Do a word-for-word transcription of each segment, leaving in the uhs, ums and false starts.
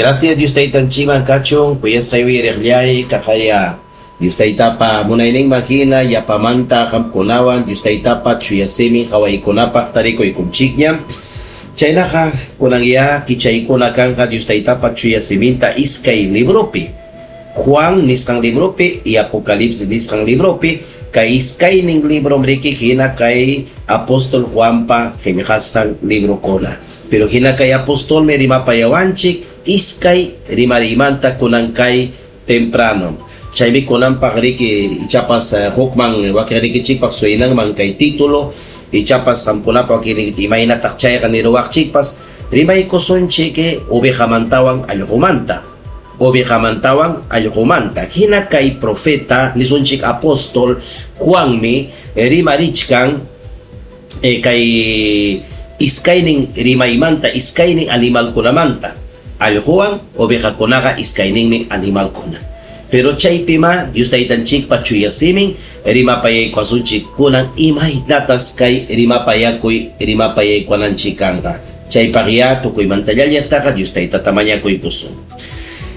Gracias Dios taytanchikman kachun kuyasqay uyariqllay kaqaya Dios taytapa munayninman hina yapamanta qamkunawan Dios taytapa chuya simin qawaykunapaq tarikuykunchikña. Chaynaqa kunanya kichaykuna kanqa Dios taytapa chuya siminta iskay libropi. Juan nisqan libropi y Apocalipsis nisqan libropi kay iskaynin librom riki hina kay apóstol Juanpa qillqasqan librokuna. Pero hina kay apostolmi rimapayawanchik iskay rimariymanta kunan kay temprano. Chaymi kunanpaq riki ichapas hukman wakinrikichikpaq suynanman kay título ichapas qamkunapa wakinrikichik imaynataq chayqa niruwaqchikpas rimaykusunchik ovejamantawan allqumanta. Ovejamantawan allqumanta. Hina kay profeta nisunchik apóstol Juanmi rimarichkan eh, kay iskaynin rimaymanta iskaynin animalkunamanta. Allquwan ovejakunaqa iskayninmi animalkuna. Pero chaypima Dios taytanchikpa chuya simin rimapayaykuwasunchik kunan imaynatas kay rimapayakuy rimapayaykuwananchik kanqa. Chaypaqya tukuymantallallataqa Dios taytata mañakuykusun.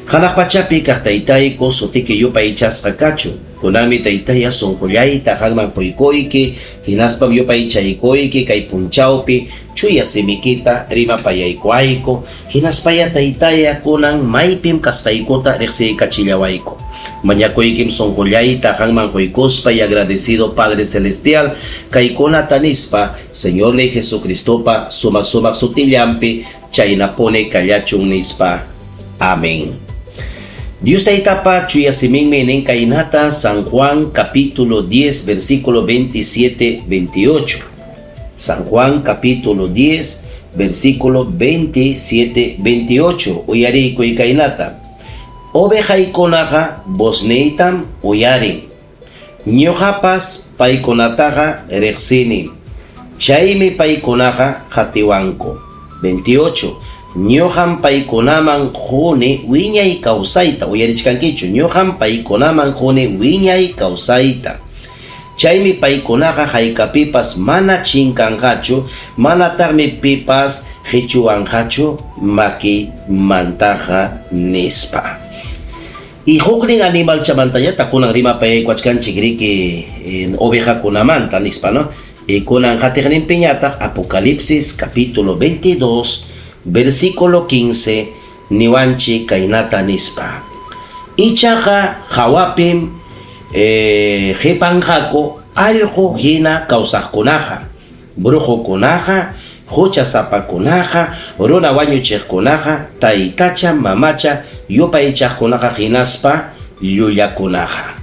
Hanaq pachapi kaq taytayku sutiki yupaychasqa kachun. Kunanmi taytaya sunqullayta qanman quykuyki, hinaspam yupaychaykuyki kay punchawpi chuya simikita rimapayaykuayku, hinaspaya taytaya kunan maypim kasqaykuta riqsiykachillawayku. Mañakuykim sunqullayta qanman quykuspa y agradecido Padre Celestial kaykunata nispa Señor ni Jesucristopa sumaq sumaq sutillanpi chaynapuni kallachun nispa. Amén. Dios taytapa chuya siminmi nin kaynata San Juan capítulo diez versículo veintisiete veintiocho. San Juan capítulo diez versículo veintisiete veintiocho. Uyariykuy kaynata. Ovejaykunaqa vozniytam uyarin. Ñuqapas paykunataqa riqsini. Chaymi paykunaqa qatiwanku. veintiocho. Ñuqam paykunaman quni wiñay kawsayta. Uyarichkankichu. Ñuqam paykunaman quni wiñay kawsayta. Chaymi paykunaqa haykapipas mana chinkanqachu, manataqmi pipas qichuwanqachu makimantaqa nispa. Y huknin animalchamantañataq kunan rimapayaykuachkanchik riki ovejakunamanta nispa, ¿no? Y kunan qatiqninpiñataq Apocalipsis capítulo veintidós versículo quince niwanchik kaynata nispa. Ichaqa hawapim eh, qipanqaku allqu hina kawsaqkunaqa, brujukunaqa, huchasapakunaqa, runa wañuchiqkunaqa, taytacha mamacha yupaychaqkunaqa hinaspa llullakunaqa.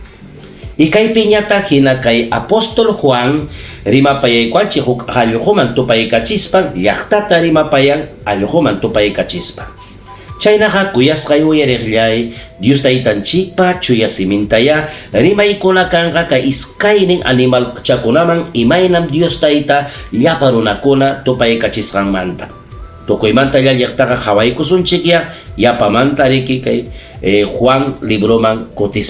Y kaypiñataq hina kay apóstol Juan rimapayaykuanchik huk allquman tupaykachispan llaqtata rimapayan allquman tupaykachispa. Chaynaqa kuyasqay uyariqllay Dios taytanchikpa chuya simintaya rimaykuna kanqa kay iskaynin animalchakunaman imaynam Dios tayta llapa runakuna tupaykachisqanmanta. Tukuymanta llaqtaqa qhawaykusunchikya yapamanta riki kay eh, Juan libroman kutispa.